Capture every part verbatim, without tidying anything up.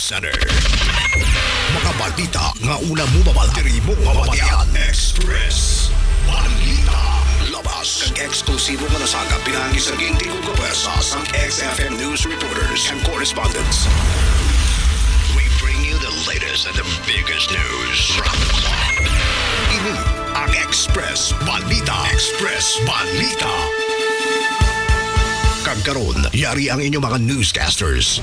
Center. Mga balita nga una mo mabal-, diri mo mabatian. Express Balita. Labas kag eksklusibo nga nasagap pinaagi sa ginti kag kapuwersa sang X F M news reporters and correspondents. We bring you the latest and the biggest news from the clock. Ini ang Express Balita. Express Balita. Kag karon, yari ang inyong mga newscasters.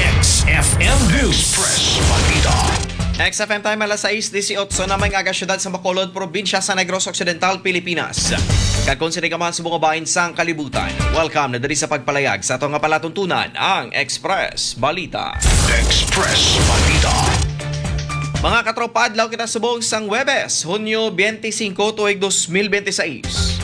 X F M News. Express Balita. X F M time, alas sais dieciocho na, may nga aga, siyudad sa Bacolod, probinsya sa Negros Occidental, Pilipinas. Kag kung sini ka man subong nga bahin sang kalibutan, welcome na diri sa pagpalayag sa ato nga palatuntunan, ang Express Balita. Express Balita. Mga katropa, adlaw kita subong sang Huwebes, Hunyo twenty-five, tuig dos mil twenty-six.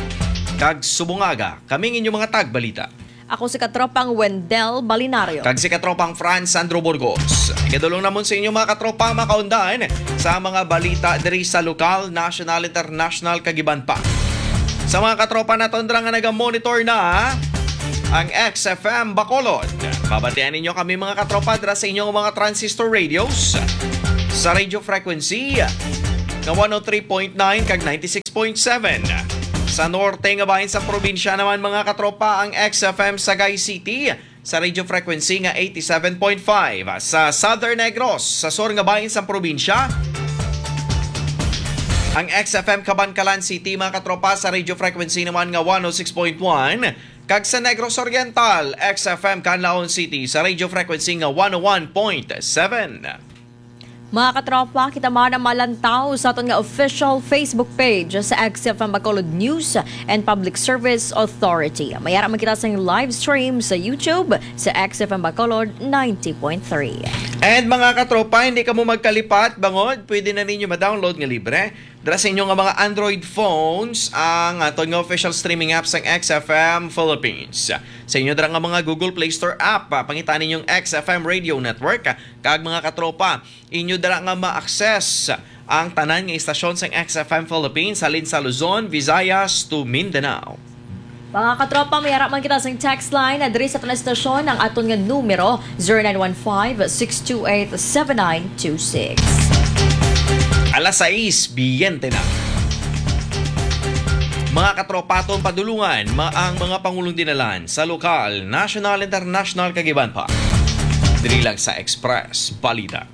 Kag subong aga, kami ang inyong mga tagbalita. Ako si katropang Wendell Balinario. Kag si katropang Franz Sandro Burgos. Ikadulong namon sa inyo, mga katropa, ang makaundan sa mga balita diri sa lokal, national, international, kag iban pa. Sa mga katropa naton dira nga naga-monitor na ang X F M Bacolod, mabatian ninyo kami, mga katropa, dira sa inyong mga transistor radios, sa radio frequency nga one oh three point nine kag ninety-six point seven. Sa norte nga bahin sa probinsya naman, mga katropa, ang X F M Sagay City sa radio frequency nga eighty-seven point five. Sa Southern Negros, sa sur nga bahin sa probinsya, ang X F M Kabankalan City, mga katropa, sa radio frequency naman nga one oh six point one, kag sa Negros Oriental, X F M Canlaon City sa radio frequency nga one oh one point seven. Mga katropa, kita man ang malantaw sa aton nga official Facebook page sa X F M Bacolod News and Public Service Authority. May ara man kita sa live stream sa YouTube sa X F M Bacolod ninety point three. And mga katropa, hindi kamo magkalipat, bangod pwede na ninyo ma-download nga libre dira sa inyo nga mga Android phones ang aton nga official streaming app sang X F M Philippines. Sa inyo dira nga mga Google Play Store app, ah, pangitaan ninyong X F M Radio Network. Kag mga katropa, inyo dira nga ma-access ang tanan nga istasyon sang X F M Philippines, halin sa Luzon, Visayas to Mindanao. Mga katropa, may ara man kita sing text line. Diri sa aton istasyon, ang aton nga numero, zero nine one five, six two eight, seven nine two six. Alas sais biyente na. Mga katropa, aton padulungan ma-, ang mga pangulong dinalan sa lokal, national, international, kag iban pa. Diri lang sa Express Balita.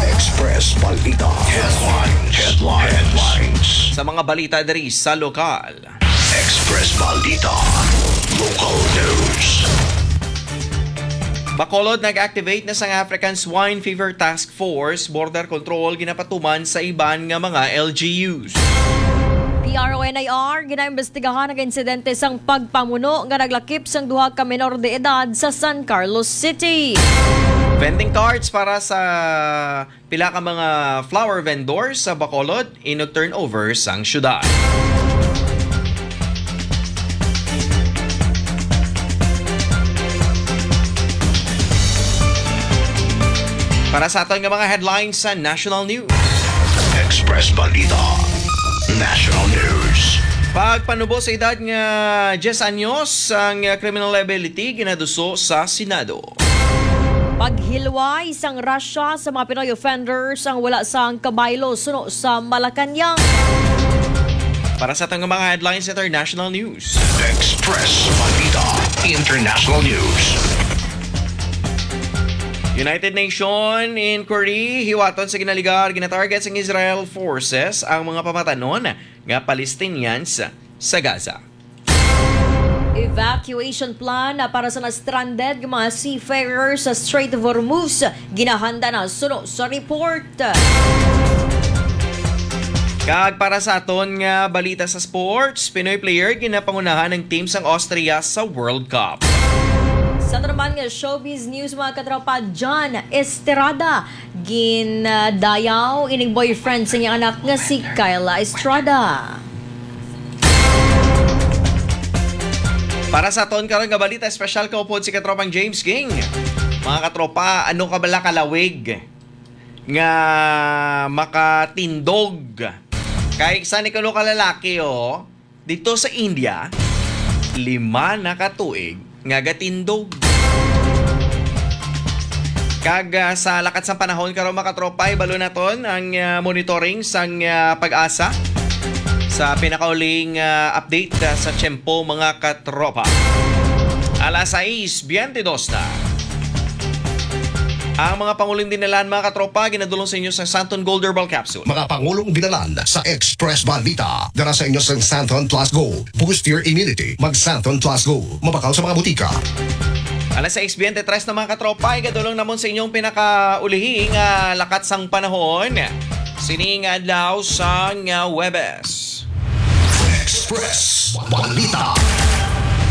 Express Balita. Headlines. Headlines. Sa mga balita diri sa lokal. Express Balita. Local news. Bacolod, nag-activate na sang African Swine Fever Task Force, border control, ginapatuman sa iban nga mga L G Us. P R O N I R, ginaimbestigahan ang insidente sang pagpamuno nga naglakip sang duha ka menor de edad sa San Carlos City. Vending carts para sa pila ka mga flower vendors sa Bacolod, inog turnover sang syudad. Para sa aton nga mga headlines sa National News. Express Balita. National News. Pagpanubo sa edad nga diyes anyos ang criminal liability ginaduso sa Senado. Paghilway sang Russia sa mga Pinoy offenders ang wala sang kabaylo suno sa Malacañang. Para sa aton nga mga headlines, international news. Express Balita International News. United Nation inquiry hiwaton sa ginaligar, ginatarget sang Israel forces ang mga pamatanon nga Palestinians sa Gaza. Evacuation plan para sa na-stranded nga mga seafarers sa Strait of Hormuz ginahanda na suno sa report. Kag para sa aton nga balita sa sports, Pinoy player ginapangunahan ang team sang Austria sa World Cup. Sa aton naman nga showbiz news, mga katropa, John Estrada ginadayaw ining boyfriend sa iyang anak nga si Kyla Estrada. Para sa aton karon nga balita, espesyal kaupod si katropang James King. Mga katropa, ano ka bala kalawig nga makatindog? Kay sa ni kuno ka lalaki, oh, Dito sa India, lima na ka tuig nga gatindog. Kag, ah, sa lakat sang panahon karon, mga katropa, ibalo naton ang, ah, monitoring sang, ah, PAGASA sa pinakauling, ah, update, ah, sa tiyempo, mga katropa. Alas sais biyente dos na. Ang mga pangulong dinalan, mga katropa, ginadulong sa inyo sa Santon Gold Herbal Capsule. Mga pangulong dinalan sa Express Balita. Dala sa inyo sa Santon Plus Go. Boost your immunity. Mag Santon Plus Go. Mabakal sa mga butika. Alas sais biyente tres na, mga katropa, igadulong namon sa inyong pinakaulihi nga lakat sang panahon. Sining adlaw sang, ah, Huwebes. Express Balita.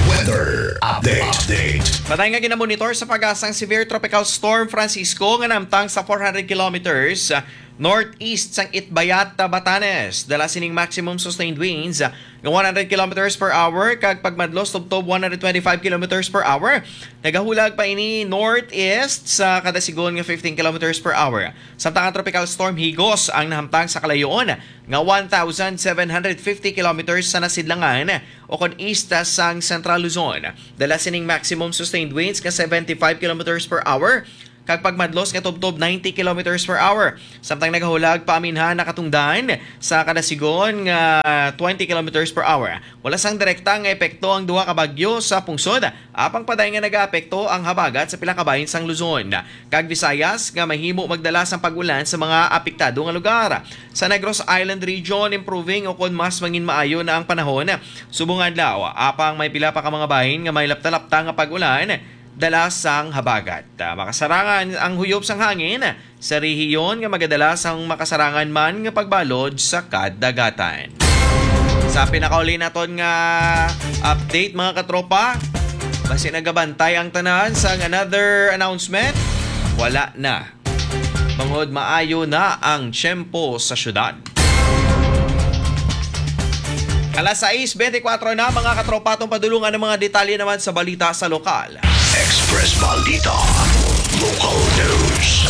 Weather update. Update. Patay nga ginamonitor sa PAGASA ang severe tropical storm Francisco nga namtang sa four hundred kilometers, ah, northeast sang Itbayat, Batanes. Dala sining maximum sustained winds, ah, nga one hundred kilometers per hour kag pagmadlos tubtob one hundred twenty-five kilometers per hour. Nagahulag pa ini northeast sa kada sigon nga fifteen kilometers per hour. Samtang ang tropical storm Higos ang nahamtang sa kalayoon nga one thousand seven hundred fifty kilometers sa nasidlangan o kon east sang Central Luzon. Dala sining maximum sustained winds nga seventy-five kilometers per hour kag pagmadlos nga tubtob ninety kilometers per hour. Samtang nagahulag pa aminhan nakatungdan sa kada sigon nga twenty kilometers per hour. Wala sang direkta nga epekto ang duha ka bagyo sa pungsod, apang padayon nga nagaapekto ang habagat sa pila ka bahin sang Luzon kag Visayas nga mahimo magdala sang pag-ulan sa mga apektado nga lugar. Sa Negros Island Region, improving o kon mas mangin maayo na ang panahon subong adlaw, apang may pila pa ka mga bahin nga may lapta-lapta nga pag-ulan dala sang habagat. Ah, makasarangan ang huyop sang hangin sa rehiyon nga magadala sang makasarangan man nga pagbalod sa kadagatan. Sa pinakauli naton nga update, mga katropa, basi nagabantay ang tanan sang another announcement, wala na. Bangod maayo na ang tiyempo sa syudad. Alas sais bente kwatro na, mga katropa, atong padulungan ang mga detalye naman sa balita sa lokal. Express Balita. Local News.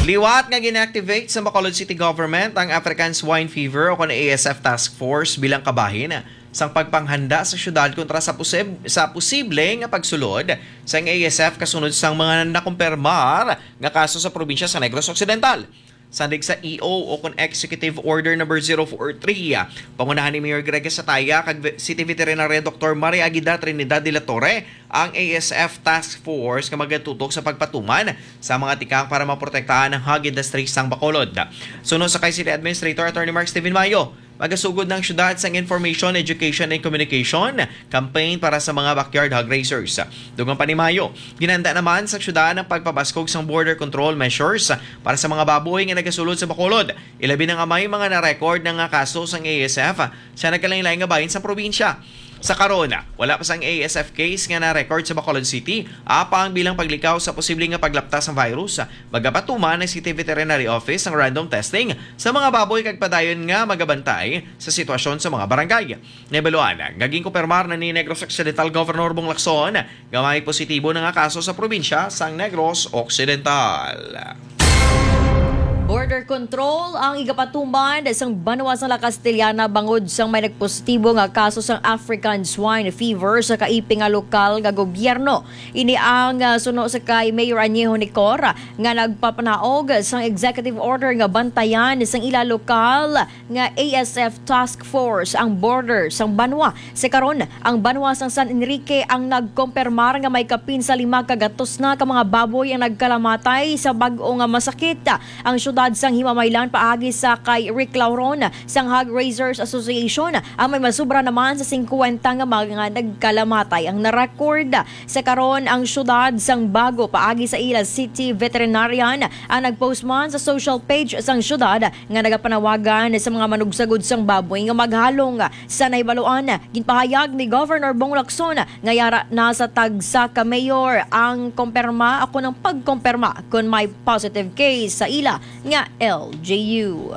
Liwat nga gin-activate sa Bacolod City Government ang African Swine Fever o kon A S F Task Force bilang kabahin sang pagpanghanda sa syudad kontra sa posib-, sa posible nga pagsulod sang A S F kasunod sang mga nakumpirmar nga kaso sa probinsya sa Negros Occidental. Sandig sa E O o kon Executive Order Number Zero four three, pangunahan ni Mayor Greg Sataya kag ve-, City Veterinarian Doktor Maria Aguida Trinidad de la Torre ang A S F Task Force nga magatutok sa pagpatuman sa mga tikang para maprotektahan ang hog industry sang Bacolod. Suno sa kay City Administrator Attorney Mark Steven Mayo, magasugod na ang syudad sang Information, Education, and Communication Campaign para sa mga backyard hog raisers. Dugang pa ni Mayo, ginhanda naman sa syudad ang pagpabaskog sang border control measures para sa mga baboy nga nagasulod sa Bacolod, ilabi na nga may mga na-record na nga kaso sang A S F sa nagkalain-lain nga bahin sa probinsya. Sa karon, wala pa sang A S F case nga na-record sa Bacolod City, apang bilang paglikaw sa posible nga paglapta sang virus, magapatuman ang City Veterinary Office ang random testing sa mga baboy kag padayon nga magabantay sa sitwasyon sa mga barangay. Nahibaluan nga ginkumpirmar na ni Negros Occidental Governor Bong Lacson nga may positibo na nga kaso sa probinsya sang Negros Occidental. Border control ang igapatuman sang banwa sang La Castellana bangod sang may nagpositibo nga kaso sang African Swine Fever sa kaiping nga lokal nga gobyerno. Ini ang, ah, suno sa kay Mayor Añejo Nicor nga nagpapanaog sang executive order nga bantayan sang ila lokal nga A S F Task Force ang border sang banwa. Sa karon, ang banwa sang San Enrique ang nagkompermar nga may kapin sa lima ka gatos na ka mga baboy ang nagkalamatay sa bag-o nga masakit. Ang syudad sang Himamaylan paagi sa kay Rick Lauron sang Hog Raisers Association ang may masubra naman sa singkwenta nga mga nagkalamatay ang narecord. Sa karon, ang syudad sang Bago paagi sa ila city veterinarian ang nagpost man sa social page sang syudad nga nagapanawagan sa mga manugsagod sang baboy nga maghalong. Sa nahibaluan, ginpahayag ni Governor Bong Lacson nga yara na sa tagsa ka mayor ang komperma o kon ang pagkomperma kon may positive case sa ila nga L G U.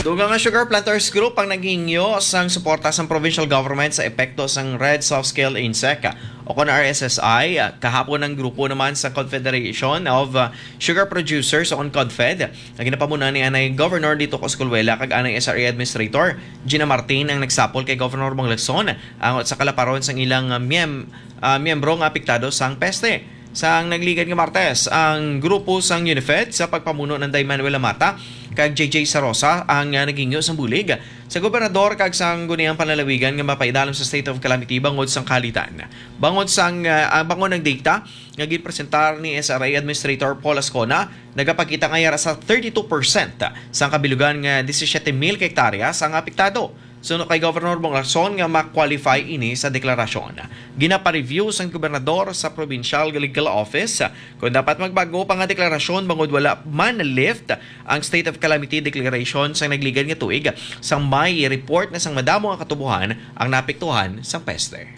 Dugang nga Sugar Planters Group ang naghingyo sang suporta sang provincial government sa epekto sang Red Soft Scale Insect o kon R S S I, ah, kahapon ang grupo naman sa Confederation of, ah, Sugar Producers o kon CONFED, nga ginapamunuan ni anay Governor Lito Coscolwela kag anay S R A Administrator Gina Martin ang nagsapol kay Governor Bong Lacson ang sa kalaparon sang ilang, ah, miyem-, ah, miyembro nga apektado sang peste. Sang nagligad nga Martes, ang grupo sang UNIFED sa pagpamuno ni Day Manuel Lamata kag J J Sarosa ang, ah, naghingyo sang bulig sa gobernador kag sang guniang panlalawigan nga mapaidalom sa state of calamity bangod sang kahalitan. Bangod sang, ah, ah, bangod ang data nga ginpresentar ni S R A Administrator Paul Ascona, nagapakita nga yara sa thirty-two percent sang kabilugan nga disisiete mil ka hektaryas ang apektado. Suno kay Governor Bong Lacson nga ma-qualify ini sa deklarasyon. Ginapareview sang gobernador sa Provincial Legal Office kung dapat magbag-o pa nga deklarasyon bangod wala man na-lift ang state of calamity declaration sang nagligad nga tuig, sang may report na sang madamo nga katubohan ang naapektuhan sang peste.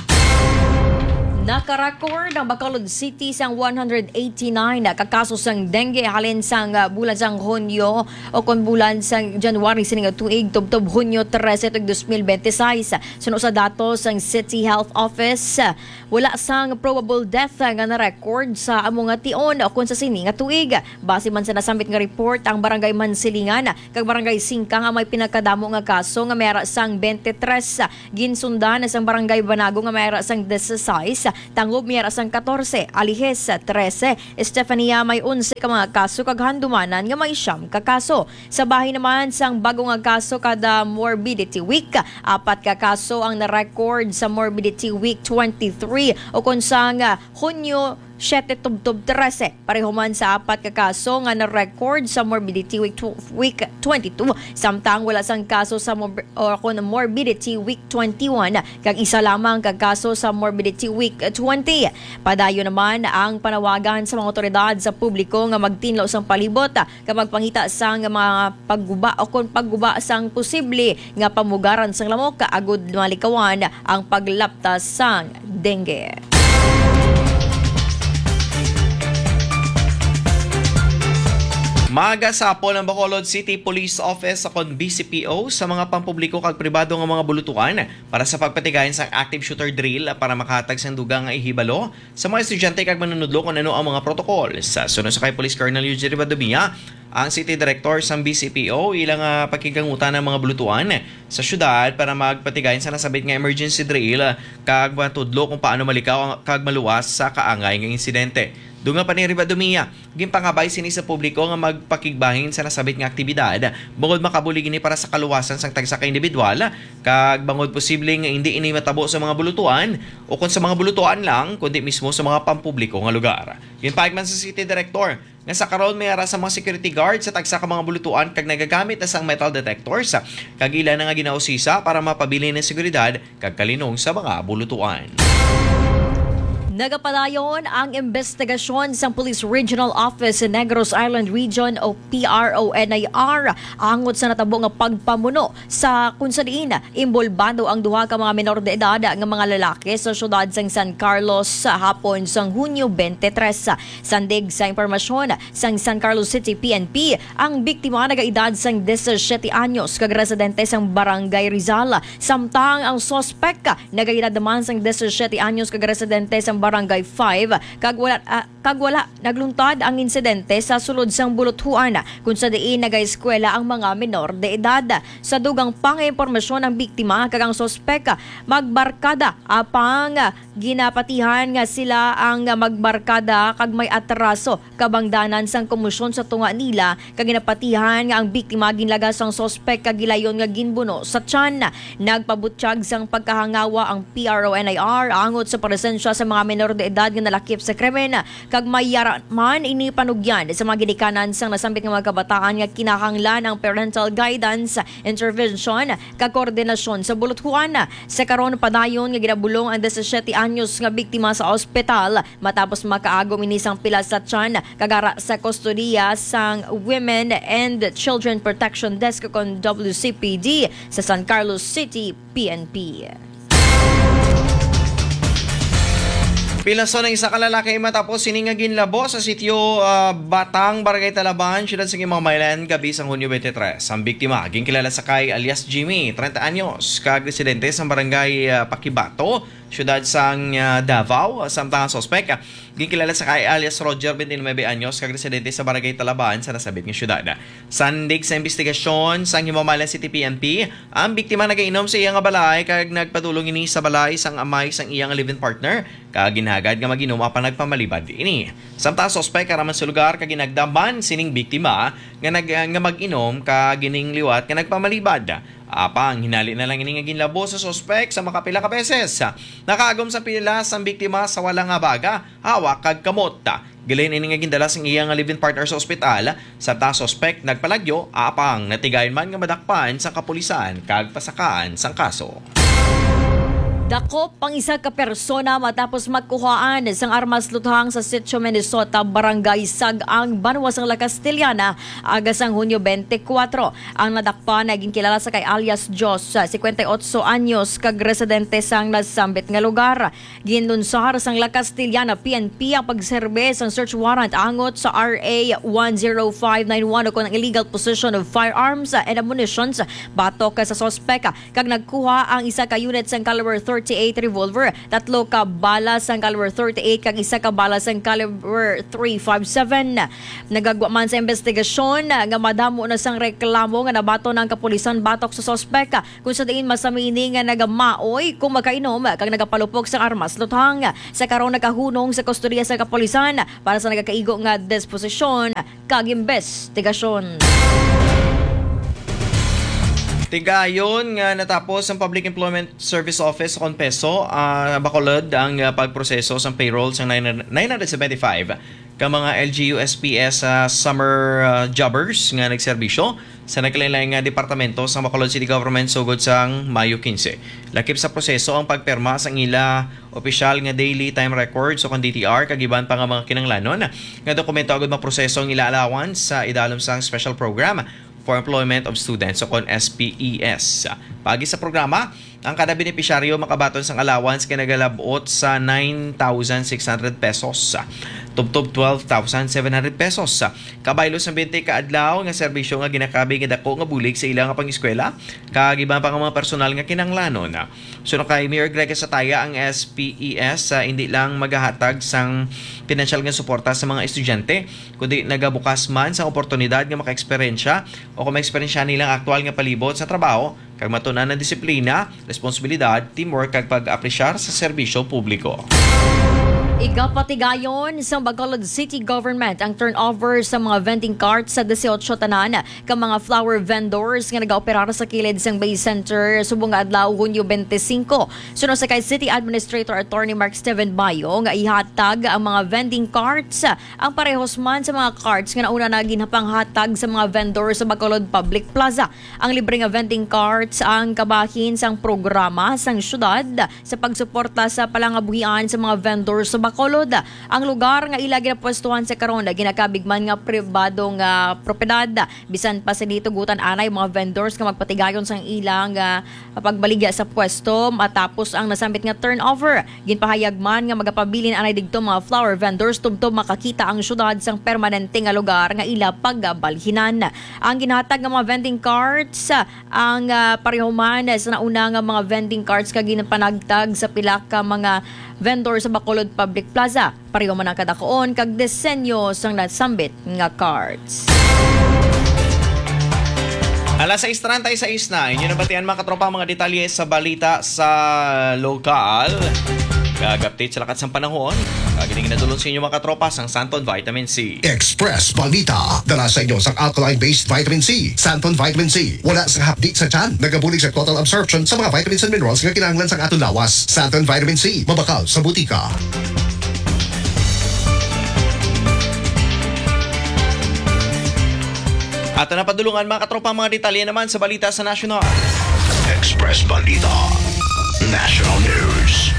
Naka-record ang Bacolod City sang one hundred eighty-nine ka kaso sang dengue halin sang, ah, bulan sang Hunyo o kon bulan sang January sini nga tuig tubtob Hunyo trese tuig dos mil bente seis. Suno sa datos sang City Health Office, wala sang probable death nga na-record sa amo nga tion o kon sa sini nga tuig. Base man sa nasambit nga report, ang Barangay Mansilingan kag Barangay Singka nga may pinakadamo nga kaso nga may ara sang bente tres, ginsundan sang Barangay Banago nga may ara sang dieciséis, Tangub may ara sang katorse, Alijes trese, Estefania may onse ka mga kaso kag Handumanan nga may siyam ka kaso. Sa bahin naman sang bag-o nga kaso kada Morbidity Week, apat ka kaso ang na-record sa Morbidity Week twenty-three o kon sang, ah, Hunyo siete tubtob trese. Pareho man sa apat ka kaso nga na-record sa Morbidity Week tw-, Week twenty-two, samtang wala sang kaso sa mor-, o kon Morbidity Week twenty-one, kag isa lamang ka kaso sa Morbidity Week twenty. Padayon naman ang panawagan sa mga awtoridad sa publiko nga magtinlo sang palibot kag magpangita sang mga pagguba o kon pagguba sang posible nga pamugaran sang lamok agud malikawan ang paglaptas sang dengue. Magasapol ang Bacolod City Police Office o kon B C P O sa mga pampubliko kag pribado nga mga bulutuan para sa pagpatigayon sang active shooter drill para makahatag sang dugang nga ihibalo sa mga estudyante kag manunudlo kon ano ang mga protocol. Sa suno sa kay Police Colonel Eugene Rivadumia, ang City Director sang B C P O, ila nga pakigkangutan ang mga bulutuan sa syudad para magpatigayon sa nasambit nga emergency drill kag matudlo kung paano malikaw ang, kag maluwas sa kaangay nga insidente. Dugang pa ni Rivadumia, ginpangabay sini sa publiko nga magpakigbahin sa nasambit nga aktibidad bangod makabulig ini para sa kaluwasan sang tagsa ka individual kag bangod posible nga indi ini matabo sa mga bulutuan o kon sa mga bulutuan lang, kundi mismo sa mga pampubliko nga lugar. Ginpahayag man sa City Director nga sa karon may ara sa mga security guard sa tagsa ka mga bulutuan kag nagagamit na sang metal detectors, kag ila na nga ginausisa para mapabilin ang seguridad kag kalinong sa mga bulutuan. Nagapadayon ang imbestigasyon sang Police Regional Office sa Negros Island Region o P R O N I R angot sa natabo nga pagpamuno sa kung sa diin imbolbado ang duha ka mga menor de edad nga mga lalaki sa siyudad sang San Carlos sa hapon sang Hunyo twenty-three. Sandig sa impormasyon sang San Carlos City P N P, ang biktima nagaedad sang disisiete anyos kag residente sang Barangay Rizal, samtang ang suspek nagaedad naman sang disisiete anyos kag residente sang Barangay five kag wala, ah, kag wala nagluntad ang insidente sa sulod sang buluthuan, kung sa diin nagaeskwela ang mga menor de edad. Sa dugang pa nga impormasyon, ang biktima kag ang suspek magbarkada, apang ginapatihan nga sila ang magbarkada kag may atraso kabangdanan sang komosyon sa tunga nila, kag ginapatihan nga ang biktima ginlagas sang suspek kag gilayon nga ginbuno sa tiyan. Nagpabutyag sang pagkahangawa ang P R O N I R angot sa presensya sa mga menor de edad nga nalakip sa krimen, kag may yara man ini panugyan sa mga ginikanan sang nasambit nga mga kabataan nga kinahanglan ang parental guidance, intervention, kag koordinasyon sa buluthuan. Sa karon, padayon nga ginabulong ang disisiete anyos nga biktima sa ospital matapos makaagom ini sang pilas sa tiyan kag ara sa kustodiya sang Women and Children Protection Desk kon W C P D sa San Carlos City P N P. Pilason ang isa ka lalaki matapos sini nga ginlabo sa sitio, ah, Batang, Barangay Talaban, siyudad sa Guimaumaylan, gabi sang Hunyo twenty-three. Ang biktima, ginkilala sa kay alias Jimmy, treinta anyos, kag residente sa barangay, ah, Pakibato, siyudad sang, ah, Davao. Samtang ang suspek, ah, ginkilala sa kay alias Roger, twenty-nine anyos, kag residente sa Barangay Talaban sa nasambit nga siyudad. Sandig sa investigasyon sang Himamaylan City P N P, ang biktima nagainom sa iya nga balay kag nagpadulong ini sa balay sang amay sang iya nga live-in partner, kag ginhagad nga mag-inom apan nagpamalibad ini. Samtang ang suspek, ara man sa lugar kag ginagdaman sining biktima nga nag-, nga mag-inom kag ining liwat nga nagpamalibad. Apang hinali na lang ini nga ginlabo sa suspek sa makapila ka beses. Nakaagom sa pilas ang biktima sa wala nga baga, hawak kag kamot. Gilain ini nga gindala sang iya nga live-in partner sa ospital, samtang ang suspek nagpalagyo, apang natigayon man nga madakpan sa kapulisan kag pasakaan sang kaso. Dakop ang isa ka persona matapos makuhaan sang armas luthang sa Sitio Minnesota, Barangay Sag-ang, banwa sang La Castellana, aga sang Hunyo twenty-four. Ang nadakpan nga ginkilala sa kay alias Jos, cincuenta y ocho anyos, kag residente sang nasambit nga lugar. Ginlunsar sang La Castellana P N P ang pagserbe sang search warrant angot sa R A one zero five nine one, o kon ang illegal possession of firearms and ammunitions batok sa suspek, kag nagkuha ang isa ka unit sang caliber thirty-eight revolver, tatlo ka bala sang caliber thirty-eight, kag isa ka bala sang caliber three five seven. Nagagwa man sa investigasyon nga madamo na sang reklamo nga nabaton ang kapulisan batok sa suspek, kung sa diin masami ini nga nagamaoy kung makainom kag nagapalupok sang armas luthang. Sa karon, nagahunong sa kustodiya sa kapulisan para sa nagakaigo nga disposisyon kag investigasyon. Tigayon nga natapos ang Public Employment Service Office o kon PESO, ah, Bacolod ang, ah, pagproseso sang payroll sang nine hundred, nine hundred seventy-five ka mga L G U S P S, ah, summer, ah, jobbers nga nagserbisyo sa nagkalain-lain nga departamento sang Bacolod City Government sugod sang Mayo quince. Lakip sa proseso ang pagpirma sang ila opisyal nga daily time records o kon D T R kag iban pa nga mga kinahanglanon nga dokumento agud maproseso ang ila allowance sa idalom sang special program for employment of students o kon S P E S. Paagi sa programa, ang kada benepisyaryo makabaton sang allowance nga nagalab-ot sa nine thousand six hundred pesos, tubtob twelve thousand seven hundred pesos. Kabaylo sa twenty ka adlaw nga serbisyo nga ginakabig nga dako nga bulig sa ila nga pang-eskwela kag iban pa nga mga personal nga kinahanglanon. Suno kay Mayor Greg Sataya, ang S P E S, ah, hindi lang magahatag sang pinansyal nga suporta sa mga estudyante, kundi nagabukas man sang oportunidad nga makaeksperyensya o kung maeksperyensya nilang aktual nga palibot sa trabaho kag matun-an ang disiplina, responsibilidad, teamwork, kag pag-apresyar sa serbisyo publiko. Igapatigayon sang Bacolod City Government ang turnover sa mga vending carts sa dieciocho tanan ka mga flower vendors nga nagaoperar sa kilid sang Bay Center subong nga adlaw, Hunyo twenty-five. Suno sa kay City Administrator Attorney Mark Steven Bayo nga ihatag ang mga vending carts ang parehos man sa mga carts nga nauna na ginpanghatag sa mga vendor sa Bacolod Public Plaza. Ang libre nga vending carts ang kabahin sang programa sang syudad sa pagsuporta sa palangabuhian sa mga vendor sa Bacolod. Ang lugar nga ila ginapwestuhan sa karon ginakabig man nga pribado nga propiedad. Bisan pa sa dito, gutan anay mga vendors nga magpatigayon sang ilang, ah, pagbaligya sa pwesto matapos ang nasambit nga turnover. Ginpahayag man nga magapabilin anay didto mga flower vendors tubtob makakita ang syudad sang permanente nga lugar nga ila pagabalhinan. Ang ginhatag nga mga vending carts, ah, ang, ah, pareho man sa nauna nga mga vending carts nga ginpanagtag sa pila ka mga vendor sa Bacolod Public Plaza. Pareho man ang kadakuon kag disenyo sang nasambit nga cards. Alas sais treinta y seis na, inyo nabatian, mga katropa, ang mga detalye sa balita sa lokal. Kag update sa lakat sang panahon. Kag ini ginadulon sa inyo, mga katropa, sang Santon Vitamin C. Express Balita, dala sa inyo sang alkaline-based vitamin C, Santon Vitamin C. Wala sang hapdi sa tiyan, nagabulig sa total absorption sa mga vitamins and minerals nga kinahanglan sang aton lawas. Santon Vitamin C, mabakal sa butika. Ato na padulungan, mga katropa, mga detalye naman sa balita sa nasyonal. Express Balita National News.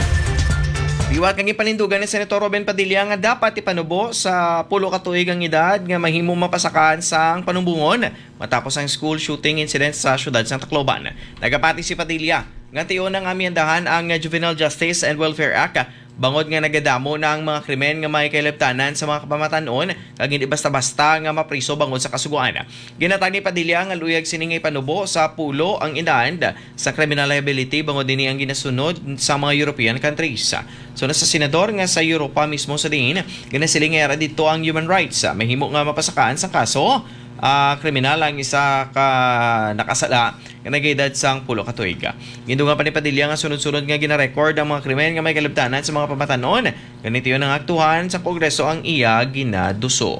Liwat nga gipanindugan ni Senator Robin Padilla nga dapat ipanubo sa pulo ka tuig ang edad nga mahimo mapasakaan sang panumbongon matapos ang school shooting incident sa siyudad sang Tacloban. Nagapati si Padilla Nga tion ang amyendahan ang Juvenile Justice and Welfare Act, bangod nga nagadamo na ang mga krimen nga may kahilabtanan sa mga kapamatan-on kag hindi basta-basta nga mapriso bangod sa kasugoan. Ginhatag ni Padilla nga luyag sini nga ipanubo sa pulo ang edad sa criminal liability bangod ini ang ginasunod sa mga European countries. So, na sa senador nga sa Europa mismo sa diin, ginasiling nga yara dito ang human rights. Mahimo nga mapasakaan sang kaso, ah, kriminal ang isa ka nakasala nga nag-edad sang pulo ka tuig. Gindungan pa ni Padilla nga sunod-sunod nga ginarecord ang mga krimen nga may kalabtanan sa mga pamatanon. Ganito yun ang aktuhan sa Kongreso ang iya ginaduso.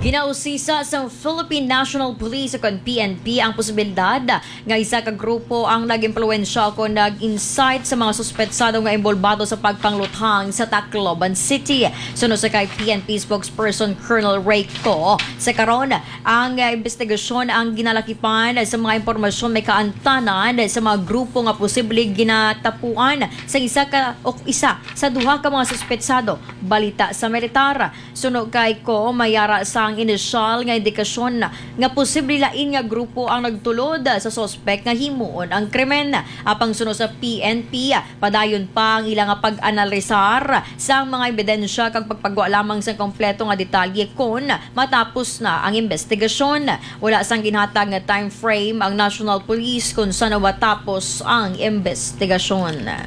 Ginausisa sang Philippine National Police o kon P N P ang posibilidad nga isa ka grupo ang nag-impluwensya o kon nag-incite sa mga suspetsado nga inbolbado sa pagpangluthang sa Tacloban City. Suno sa kay P N P spokesperson Colonel Ray Co, sa karon, ang, ah, investigasyon ang ginalakipan sa mga impormasyon may kaantanan sa mga grupo nga posible ginatapuan sa isa ka o isa sa duha ka mga suspetsado. Balita sa militar. Suno kay Co, may ara sang inisyal nga indikasyon nga posible lain nga grupo ang nagtulod sa suspek nga himuon ang krimen. Apang suno sa P N P, padayon pa ang ila nga pag-analisar sang mga ebidensya kag pagpagwa lamang sang kompleto nga detalye kon matapos na ang investigasyon. Wala sang ginhatag nga time frame ang National Police kon san-o matapos ang investigasyon.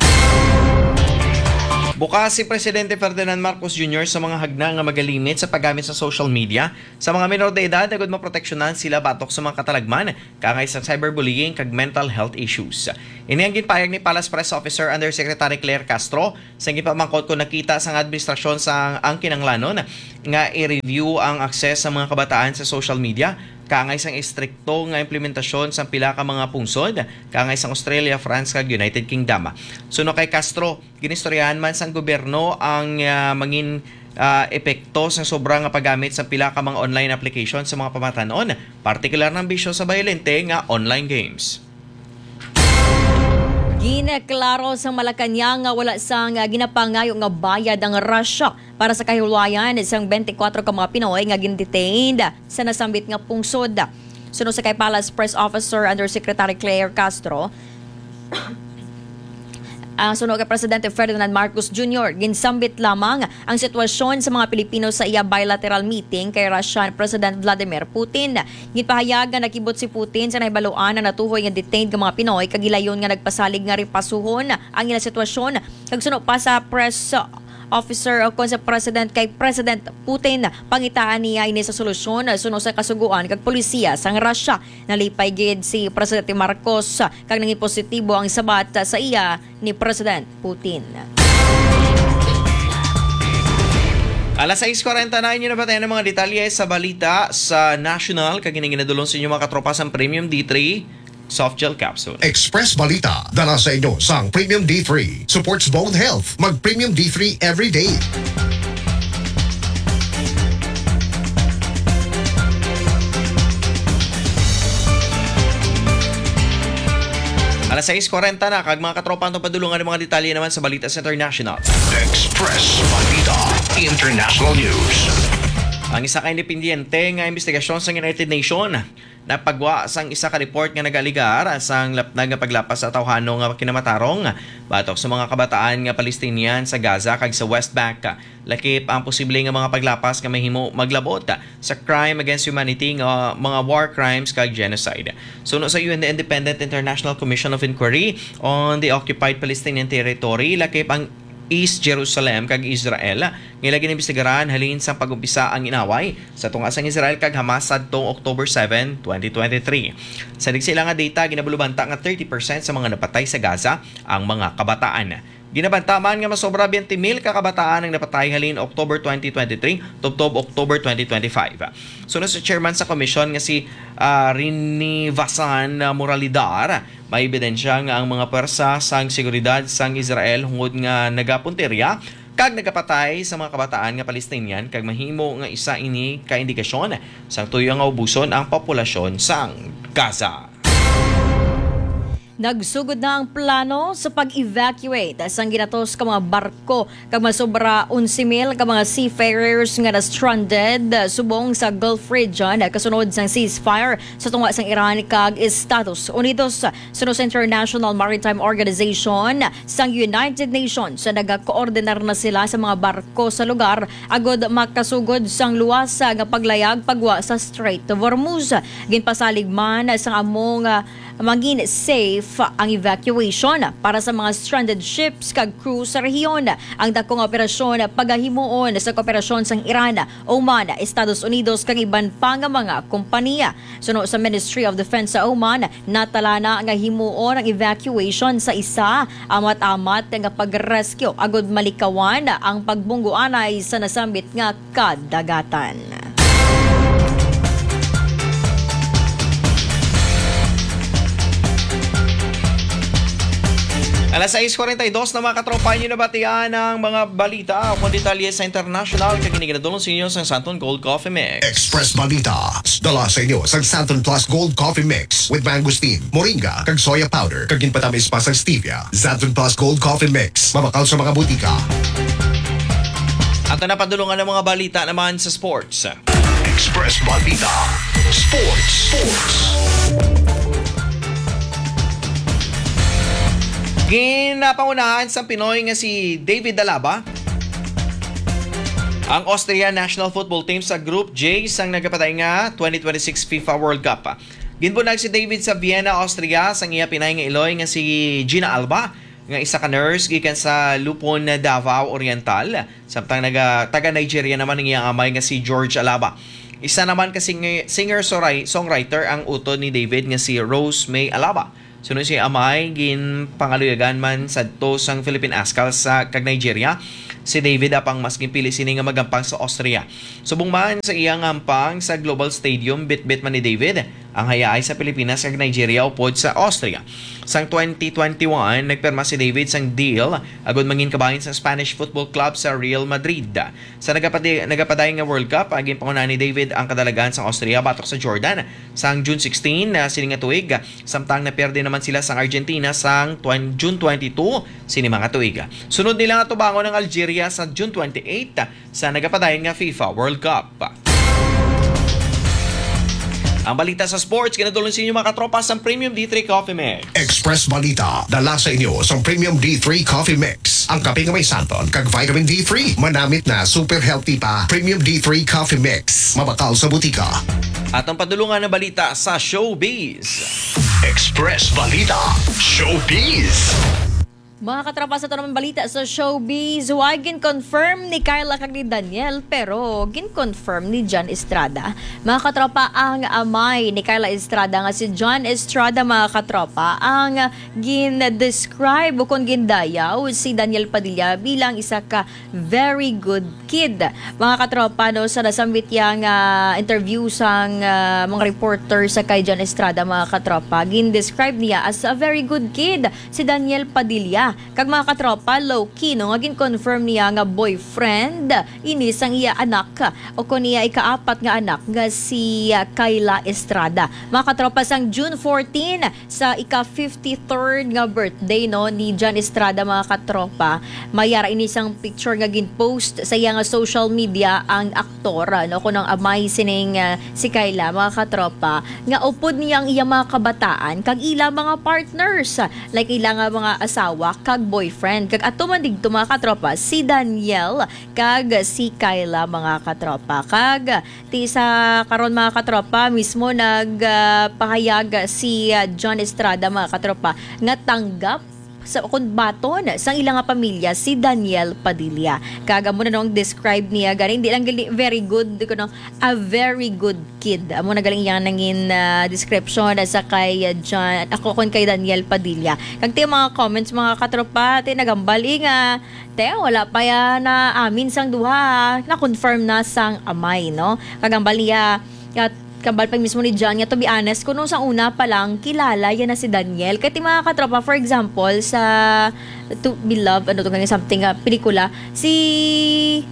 Bukas si Presidente Ferdinand Marcos Junior sa mga hagna nga magalimit sa paggamit sa social media sa mga minor de edad, agud maproteksyonan sila batok sa mga katalagman kaangay sa cyberbullying kag mental health issues. Ini ang ginpahayag ni Palace Press Officer Undersecretary Claire Castro sa gipamangkot kon nakita sang administrasyon sa ang kinahanglanon nga i-review ang access sa mga kabataan sa social media kaangay sang estrikto nga implementasyon sa pila ka mga pungsod kaangay sang Australia, France, kag United Kingdom. Suno kay Castro, ginistoryahan man sang gobyerno ang, ah, mangin, ah, epekto sa sobra nga paggamit sa pila ka mga online application sa mga pamatanon, partikular ng bisyo sa bayolente nga online games. Ginaklaro sa Malacañang nga wala sang, ah, ginapangayo nga bayad ang Russia para sa kahulayan sang twenty-four ka mga Pinoy nga gindetained sa nasambit nga pungsod. Suno sa kay Palace Press Officer Undersecretary Claire Castro, ang suno kay Presidente Ferdinand Marcos Junior, ginsambit lamang ang sitwasyon sa mga Pilipino sa iya bilateral meeting kay Russian President Vladimir Putin. Ginpahayag nga nakibot si Putin sa nahibaluan ang natuhoy nga detained nga mga Pinoy kag gilayon nga nagpasalig nga ripasuhon ang ila sitwasyon. Kag suno pa sa press officer o kon sa president kay President Putin, pangitaan niya ini sa solusyon suno sa kasugoan kag polisiya sang Russia. Nalipay gid si Presidente Marcos kag nangin positibo ang sabat sa iya ni President Putin. Alas sais kwarenta na, inyo nabatian ang mga detalye sa balita sa national, kag ining ginadulong sa inyo, mga katropa, sang Premium D three Soft Gel Capsule. Express Balita, dala sa inyo sang Premium D three. Supports bone health. Mag Premium D three every day. Alas sais kwarenta na, kag mga katropa, ang padulungan ng mga detalye naman sa balita sa international. Express Balita International News. Ang isa ka independiente nga investigasyon sa United Nations napagwa sang isa ka report nga nag-aligar sang lapnag nga paglapas sa tawhano nga kinamatarong batok sa mga kabataan nga Palestinian sa Gaza kag sa West Bank. Lakip ang posible nga mga paglapas nga mahimo maglabot sa crime against humanity nga mga war crimes kag genocide. Suno sa U N Independent International Commission of Inquiry on the Occupied Palestinian Territory, lakip ang East Jerusalem kag Israel nga ila ginimbestigaran halin sang pag-umpisa ang inaway sa tunga sang Israel kag Hamas sadtong October seven, twenty twenty-three. Sa nagsilang nga data, ginabulubanta nga thirty percent sa mga napatay sa Gaza ang mga kabataan. Ginabanta man nga masobra twenty mil ka kabataan ang napatay halin October twenty twenty-three tubtob October twenty twenty-five. Suno sa chairman sa komisyon nga si, ah, Rinivasan Moralidar, may ebidensya nga ang mga pwersa sang seguridad sang Israel hungod nga nagapuntirya kag nagapatay sa mga kabataan nga Palestinian kag mahimo nga isa ini ka indikasyon sang tuyo nga ubuson ang populasyon sang Gaza. Nagsugod na ang plano sa pag-evacuate sang ginatos ka mga barko kag masobra onse mil ka mga seafarers nga na-stranded subong sa Gulf region kasunod sang ceasefire sa tunga sang Iran kag Estados Unidos. Suno sa International Maritime Organization sang United Nations, nagakoordinar na sila sa mga barko sa lugar agud makasugod sang luwas nga paglayag pagwa sa Strait of Hormuz. Ginpasalig man sang among mangin safe ang evacuation para sa mga stranded ships kag crew sa rehiyon. Ang dako nga operasyon pagahimuon sa kooperasyon sang Iran, Oman, Estados Unidos kag iban pa nga mga kompanya. Suno sa Ministry of Defense sa Oman, natalana nga himuon ang evacuation sa isa amat-amat nga pag-rescue agud malikawan ang pagbungguanay sa nasambit nga kadagatan. Alas sais kuwarenta y dos na, mga katropa, inyo nabatian ang mga balita o kon detalye sa international kag kini ginadulong sa inyo sang Santon Gold Coffee Mix. Express Balita, dala sa inyo sang Santon Plus Gold Coffee Mix with mangosteen, moringa, kag soya powder, kag ginpatamis pa sang stevia. Santon Plus Gold Coffee Mix, mabakal sa mga butika. At ang napadulungan ng mga balita naman sa sports. Express Balita Sports. Sports. Ginapangunahan sang Pinoy nga si David Alaba ang Austria national football team sa Group J sang nagapatay nga twenty twenty-six FIFA World Cup. Ginbunyag si David sa Vienna, Austria, sang iya pinay nga iloy nga si Gina Alba, nga isa ka nurse gikan sa Lupon, Davao Oriental, samtang naga, taga Nigeria naman ang iyang amay nga si George Alaba. Isa naman ka singer, singer-songwriter ang utod ni David nga si Rose May Alaba. Suno sa iyang amay, ginpangaluyagan man sadto sang Philippine Askal sa kag Nigeria si David, apang mas ginpili sini nga magampang sa Austria. Subong man sa iyang hampang sa Global Stadium, bitbit man ni David ang hayahay sa Pilipinas kag Nigeria upod sa Austria. Sang twenty twenty-one, nagpirma si David sang deal agud mangin kabahin sa Spanish football club sa Real Madrid. Sa nagapadi-, nagapadayon nga World Cup, ah, ginpangunahan ni David ang kadalagan sang Austria batok sa Jordan sang June sixteen, ah, sini nga tuig, samtang naperde naman sila sang Argentina sang twen-, June twenty-two sini mga tuig. Sunod nila nga tubangon ang Algeria sa June twenty-eight, sa nagapadayon nga FIFA World Cup. Ang balita sa sports, ginadulong sa inyo, mga katropa, sa Premium D three Coffee Mix. Express Balita, dala sa inyo sa Premium D three Coffee Mix. Ang kape nga may santon kag vitamin D three, manamit na, super healthy pa. Premium D three Coffee Mix, mabakal sa butika. At ang padulungan ng balita sa showbiz. Express Balita, Showbiz. Mga katropa, sa ito naman balita sa showbiz, wa gin-confirm ni Kyla kag ni Daniel, pero gin-confirm ni John Estrada. Mga katropa, ang amay ni Kyla Estrada nga si John Estrada, mga katropa, ang gin-describe o kung gindayaw si Daniel Padilla bilang isa ka very good kid. Mga katropa, no, sa nasambit niya nga interview sang, ah, mga reporter sa kay John Estrada, mga katropa, gin-describe niya as a very good kid si Daniel Padilla. Kag mga katropa, low-key, no, nga gin-confirm niya nga boyfriend ini sang iya anak, o kon iya ikaapat nga anak nga si, ah, Kyla Estrada. Mga katropa, sang June fourteen, sa ika fifty-third nga birthday, no, ni John Estrada, mga katropa, may ara ini sang picture nga gin-post sa iya nga social media ang aktor, no, kuno ang amay sining, ah, si Kyla, mga katropa, nga upod niya ang iya mga kabataan kag ila mga partners, like ila nga mga asawa kag boyfriend. Kag ato man digto, mga katropa, si Daniel kag si Kyla, mga katropa. Kag ti sa karon, mga katropa, mismo nag, ah, pahayag si, ah, John Estrada, mga katropa, nga tanggap sa, kun baton sang ila nga pamilya si Daniel Padilla. Kag amo na nung describe niya gani, hindi lang gali very good, kuno a very good kid. Amo na galing iyang nangin, ah, description sa kay, ah, John, ako kun kay Daniel Padilla. Kag ti mga comments, mga katropa, ti nagambal, eh, nga te, wala pa ya na amin sang duha, na-confirm na sang amay, no? Kag ang baliya, at Kambal pa mismo ni John nga, to be honest, kuno sa una pa lang, kilala yan na si Daniel. Kaya ti mga katropa, for example, sa To Be Loved, ano to, ganyan, something, ah, pelikula, si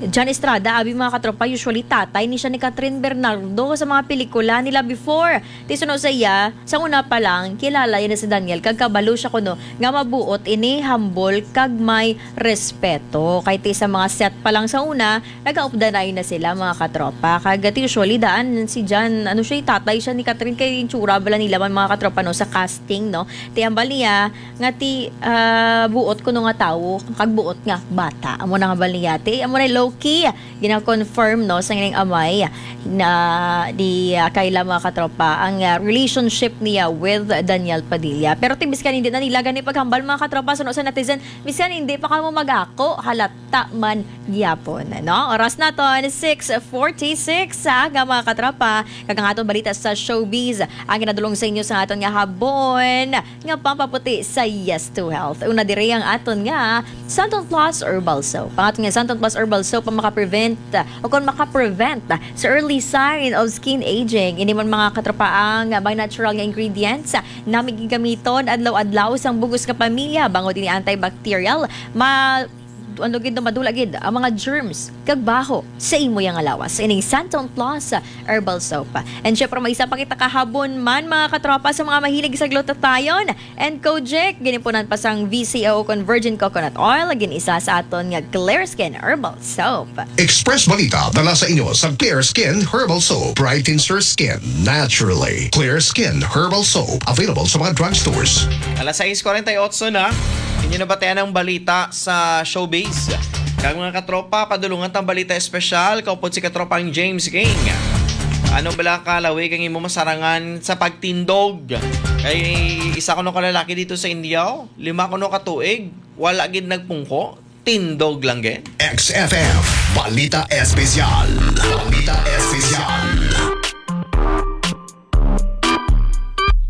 John Estrada, abi mga katropa, usually tatay ni siya ni Catherine Bernardo sa mga pelikula nila before. Ti suno sa iya, sa una pa lang, kilala yan na si Daniel, kag kabalo siya kuno nga mabuot ini, humble, kag may respeto. Kay ti sa mga set pa lang sa una, nagaupdanay na sila, mga katropa. Kag ti usually daan si John, ano siya, tatay siya ni Catherine, kay itsura bala nila man, mga katropa, no, sa casting, no? Ti hambal niya nga ti, ah, buot kuno nga tawo, kag buot nga bata. Amo na hambal niya. Ti amo na low-key, gina-confirm, no, sa ining amay na di, ah, Kayla, mga katropa, ang, ah, relationship niya with Daniel Padilla. Pero ti bisan hindi na nila gani paghambal, mga katropa, suno sa netizen, bisan hindi pa kamo mag-ako, halata man gyapon, no? Oras naton, six forty-six sa aga, mga katropa. Kag ang aton balita sa showbiz, ang ginadulong sa inyo sa aton nga habon nga pampaputi sa Yes to Health. Una diri ang aton nga Santon Plus Herbal Soap. Ang aton nga Santon Plus Herbal Soap ang makaprevent, o kung makaprevent sa early sign of skin aging. Ini man, mga katropa, ang may natural nga ingredients na may gigamiton adlaw-adlaw sang bug-os nga pamilya. Bangod ini antibacterial, ma-, ano gid, no, madula gid ang mga germs kag baho sa imo nga lawas. Ining Santon Plus Herbal Soap. And syempre, may isa pa kita kahabon man, mga katropa, sa mga mahilig sa glutathione and kojic. Ginipunan pa sang V C O kon virgin coconut oil, gin-isa sa aton nga Clear Skin Herbal Soap. Express Balita dala sa inyo sa Clear Skin Herbal Soap. Brightens your skin naturally. Clear Skin Herbal Soap, available sa mga drugstores. Alas sais kuwarenta y otso na. Inyo nabatian ang balita sa showbiz. Kag mga katropa, padulungan tang balita espesyal, kaupod si katropang James King. Ano bala ka lawig ang imo masarangan sa pagtindog? Kay isa kuno ka lalaki dito sa India, oh. Lima kuno ka tuig, wala gid nagpungko, tindog lang gid. X F M, Balita Espesyal. Balita Espesyal.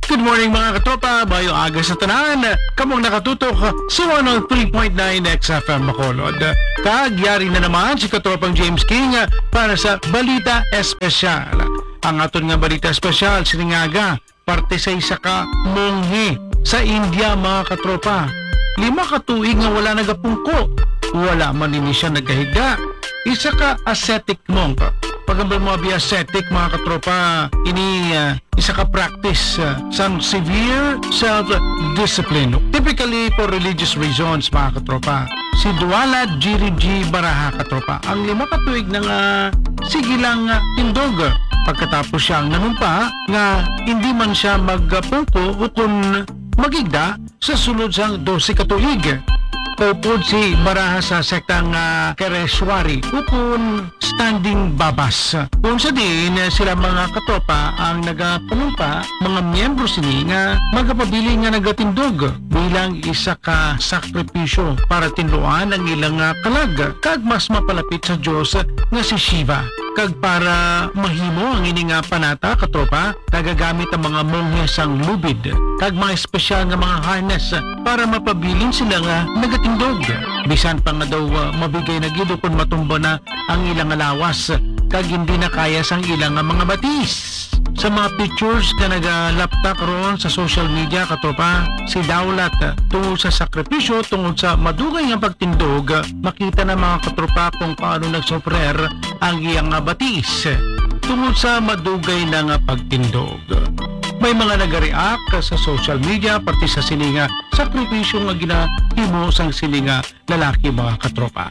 Good morning, mga katropa. Maayong aga sa tanan. Kamong nakatutok sa one oh three point nine X F M Bacolod. Kag yari na naman si katropang James King para sa Balita Espesyal. Ang aton nga balita espesyal sining aga, parte sa isa ka monghe sa India, mga katropa. Lima ka tuig nga wala nagapungko. Wala man ini siya nagahiga. Isa ka ascetic monk. Pag ang mga ascetic, mga katropa, ini, ah, isa ka practice, ah, sang severe self-discipline, typically for religious reasons, mga katropa. Si Dwala Giri G Baraha, katropa, ang lima ka tuig na nga sige lang, ah, tindog. Pagkatapos siya ang nanumpa nga hindi man siya magpungko o kun magigda sa sulod sang dose ka tuig. Kaupod si Baraha sa sektang, ah, Kareshwari, ukon Standing Babas. Kung sa diin, eh, sila mga katropa ang nagapanumpa, mga miyembro sini nga magapabilin nga nagatindog bilang isa ka sakripisyo para tinluan ang ilang, ah, kalag kag mas mapalapit sa Dios nga si Shiva. Kag para mahimo ang ini nga panata, katropa, nagagamit ang mga monghe sang lubid kag mga espesyal nga mga harness para mapabilin sila nga nagatindog. Bisan pa nga daw, ah, mabigay na gid ukon matumba na ang ilang lawas kag hindi na kaya sang ilang mga batis. Sa mga pictures nga nagalaptak ron sa social media, katropa, si Daulat, tungod sa sakripisyo, tungod sa madugay nga pagtindog, makita na, mga katropa, kung paano nagsufrer ang iyang nga batis tungod sa madugay na nga pagtindog. May mga nagareact sa social media parte sa sini nga sakripisyo nga ginahimo sang sini nga lalaki, mga katropa.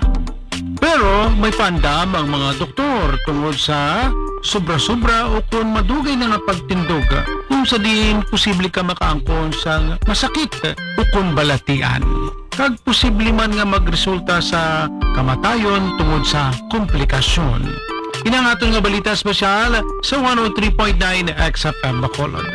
Pero may paandam ang mga doktor tungod sa sobra-sobra o kon madugay na nga pagtindog, kung sa diin posible ka makaangkon sang masakit o kon balatian, kag posible man nga magresulta sa kamatayon tungod sa komplikasyon. Ini ang aton nga balita espesyal sa one oh three point nine X F M Bacolod.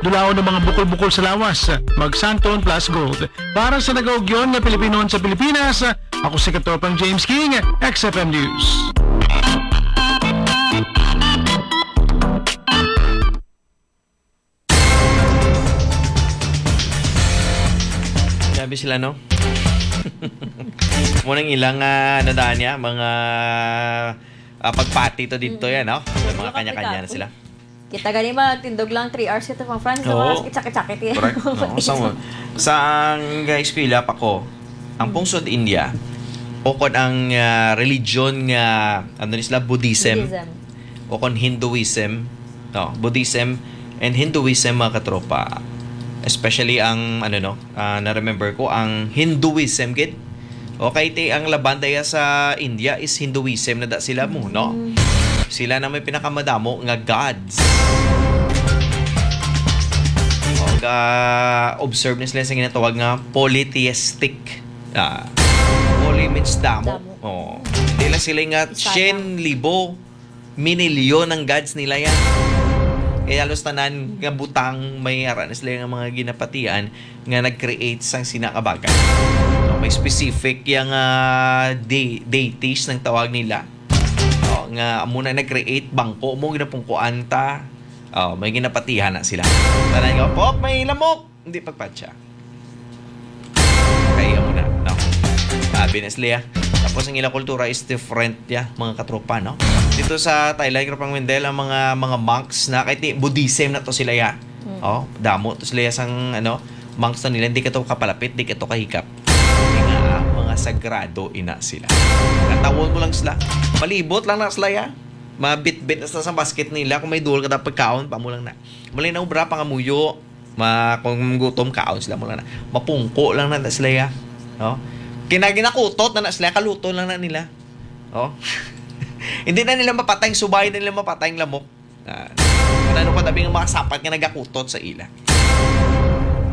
Dulaon ang mga bukol-bukol sa lawas, mag Santon Plus Gold. Para sa nagaugyon nga Pilipinon sa Pilipinas, ako si Katropang James King, X F M News. Grabe sila, no? Mao nang ilang, ah, ano daan niya, mga, ah, pagpati to dito Mm. yan, no? May mga Wala kanya-kanya na kapidato. sila. Kita gani magtindog lang three hours kita, mga friends, sa Oo. mga sakit-sakit-sakit. Correct. No? Sa, sa eskwela pa ko, ang Mm. pungsod India, o kon ang, ah, religion nga, ano ni sila, Buddhism, Buddhism. o kon Hinduism, no? Buddhism and Hinduism, mga katropa. Especially ang, ano, no? Ah, na-remember ko, ang Hinduism, gid. Okay, ti, ang laban daya sa India is Hinduism na da sila mo, no? Mm. Sila na may pinakamadamo nga gods. O, ga-observe ni sila sa ginatawag nga polytheistic. Ah, poly means damo. Damo. Oh. Dila sila nga Isa lang. Syen libo, minilyon ang gods nila yan. Kaya halos tanan nga butang may ara na sila nga mga ginapatian nga nag-create sang sina ka bagay. No, may specific yang, ah, de-, deities nang tawag nila. Oh, nga amo na nag-create, bangko mo, ginapungkuan ta. Oh, may ginapatihan na sila. Tanan nga, "Pop, may lamok!" Hindi pagpatya. Kaya mo na, no? Sabi na sila, ah. Tapos ang ilang kultura is different, ya, mga katropa, no? Dito sa Thailand, Katropang Wendell, ang mga, mga monks na, kahit di, Buddhism na to sila, ya. Mm. Oh, damo to sila, ya, sang, ano, monks na nila, hindi ka to kapalapit, di ka to kahikap. Kaya nga, ah, mga sagrado ina sila. Natawon mo lang sila. Palibot lang na sila, ya. Mabitbit na sila sa basket nila. Kung may duol ka, dapat kaon, pa mo lang na. Mali na obra, pangamuyo. Ma-, kung gutom, kaon sila mo lang na. Mapungko lang na, na sila, ya. No? Kinaginakutot na, na sila, kaluto lang na nila. Oh. Hindi na nila mapatay ang subay, hindi na nila mapatay ang lamok. Ah, ano pa tabi nga mga sapat nga nagakutot sa ila.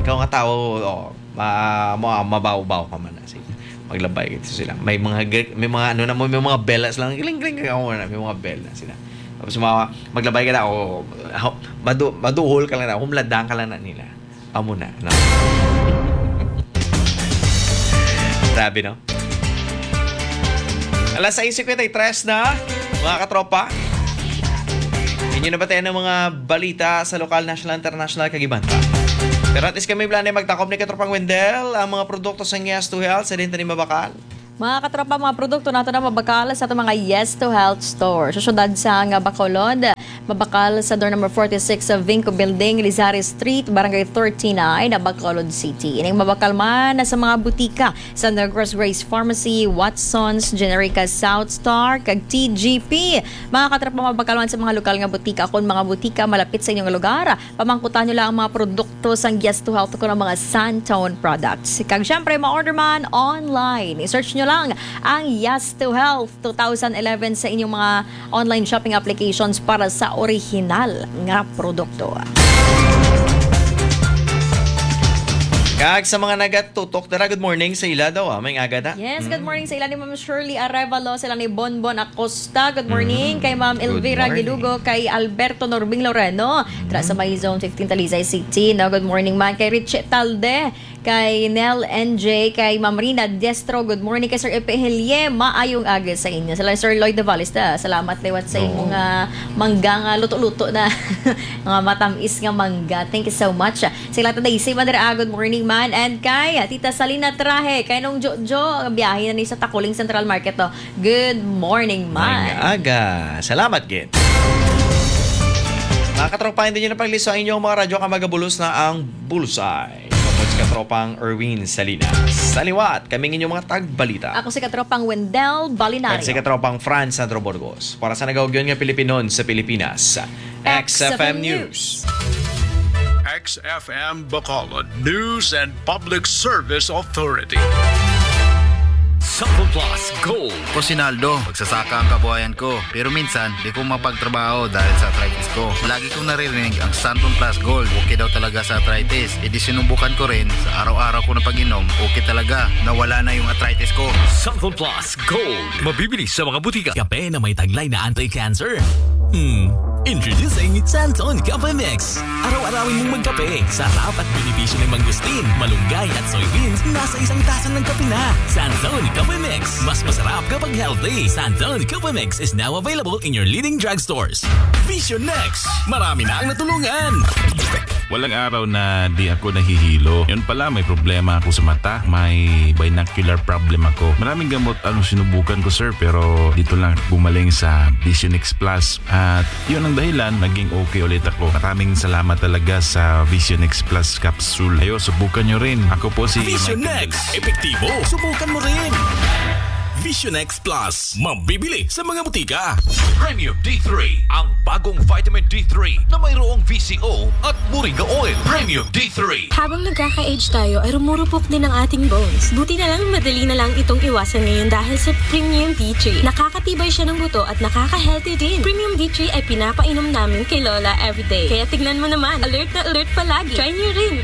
Ikaw nga tao, oh, ma-, ma-, mabaw-baw ka man na. Sige. Maglabay gid sila. May mga gre-, may mga ano na mo, may mga bell na sila. Gling, gling, gling, oh, may mga bell na sila. Tapos mga, maglabay ka na, oh, ho-, madu-, maduhol ka lang na, humladang ka lang na nila. Amo na, no? Grabe, no? Alas sais cincuenta y tres na, mga katropa. Inyo na ba tayo ng mga balita sa lokal, national, international, kag iban pa? Pero at least kami, Blanay, magtakop ni Katropang Wendell, ang mga produkto sa Yes to Health, sa din tani mabakal. Mga katropa, mga produkto nato na mabakal sa atong mga Yes to Health store. Sa syudad sa nga Bacolod, mabakal sa door number forty-six sa Vinco Building, Lizares Street, Barangay thirty-nine, Bacolod City. Ining mabakal man na sa mga butika sa Negros Grace Pharmacy, Watson's, Generica South Star, kag T G P. Mga katropa, mabakal man sa mga lokal nga butika. Kung mga butika malapit sa inyong lugar, pamangkutan nyo lang ang mga produkto sang Yes to Health o ang mga Santone products. Kag syempre, ma-order man online. I-search nyo lang ang Yes to Health two thousand eleven sa inyong mga online shopping applications para sa orihinal nga produkto. Kag sa mga nagatutok dira, good morning sa ila daw, ah. May aga na. Yes, good Mm. morning sa ila ni Ma'am Shirley Arevalo, sila ni Bonbon Acosta. Good morning Mm. kay Ma'am Good Elvira morning. Gilugo, kay Alberto Norbing Loreno, dira sa Mm. may Zone fifteen, Talisay City, no? Good morning man kay Richie Talde, kay Nel N J, kay Ma'am Rina Diestro. Good morning kay Sir Epe Helie. Maayong aga sa inyo. Sila Sir Lloyd Davales, da. Salamat liwat sa Oo. imong, ah, mangga nga luto-luto na mga matamis nga mangga. Thank you so much. Sila ta Daisy Madra, good morning man. And kay Tita Salina Trahe, kay Nong Jojo, biyahe na ni sa Takuling Central Market to. Good morning man. Maayong aga. Salamat, gid. Mga katropa, hindi nyo na pagliso ang inyong mga radyo kay magabulos na ang Bullseye. Kapag si Katropang Erwin Salinas. Sa liwat, kami ang inyong mga tagbalita. Ako si Katropang Wendell Balinario. At si Katropang Franz Sandro Burgos. Para sa nagaugyon nga Pilipinon sa Pilipinas, X F M News. X F M Bacolod News and Public Service Authority. Sample Plus Gold. Ako si Naldo. Magsasaka ang kabuhayan ko. Pero minsan, di ko mapagtrabaho dahil sa arthritis ko. Lagi kong naririnig ang Santon Plus Gold. Okay daw talaga sa arthritis. E di sinubukan ko rin. Sa araw-araw ko na pag-inom, okay talaga. Nawala na yung arthritis ko. Santon Plus Gold. Mabibili sa mga butika. Kape na may taglay na anti-cancer. Hmm. Introducing Santon Cafe Mix. Araw-arawin mong magkape. Sarap at benepisyo ng mangustin, malunggay at soybeans nasa isang tasa ng kape na. Santon Cafe Mix. Mas masarap kapag healthy. Santon Cafe Mix is now available in your leading drugstores. Vision Next. Marami na ang natulungan. Walang araw na di ako nahihilo. Yun pala, may problema ako sa mata. May binocular problem ako. Maraming gamot ang sinubukan ko, sir, pero dito lang gumaling sa Vision X Plus. At yun ang dahilan, naging okay ulit ako. Maraming salamat talaga sa Vision X Plus capsule. Ayo, subukan nyo rin. Ako po si Vision Michael X. Epektibo. Subukan mo rin. Vision X Plus. Mabibili sa mga butika. Premium D three, ang bagong vitamin D three na mayroong V C O at moringa oil. Premium D three. Habang nagkaka-age tayo ay rumurupok din ang ating bones. Buti na lang madali na lang itong iwasan ngayon dahil sa Premium D three. Nakakatibay siya ng buto at nakaka-healthy din. Premium D three ay pinapainom namin kay Lola everyday. Kaya tignan mo naman, alert na alert palagi. Try niyo rin.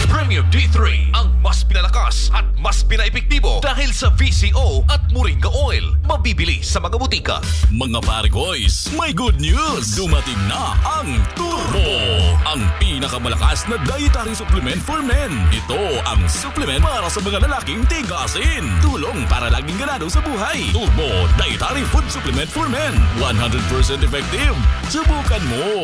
Premium D three, ang mas pinalakas at mas pinaepektibo dahil sa V C O at moringa oil. Mabibili sa mga butika. Mga pare boys, may good news! Dumating na ang Turbo, ang pinakamalakas na dietary supplement for men. Ito ang supplement para sa mga lalaking tigasin. Tulong para laging ganado sa buhay. Turbo Dietary Food Supplement for Men. One hundred percent effective. Subukan mo.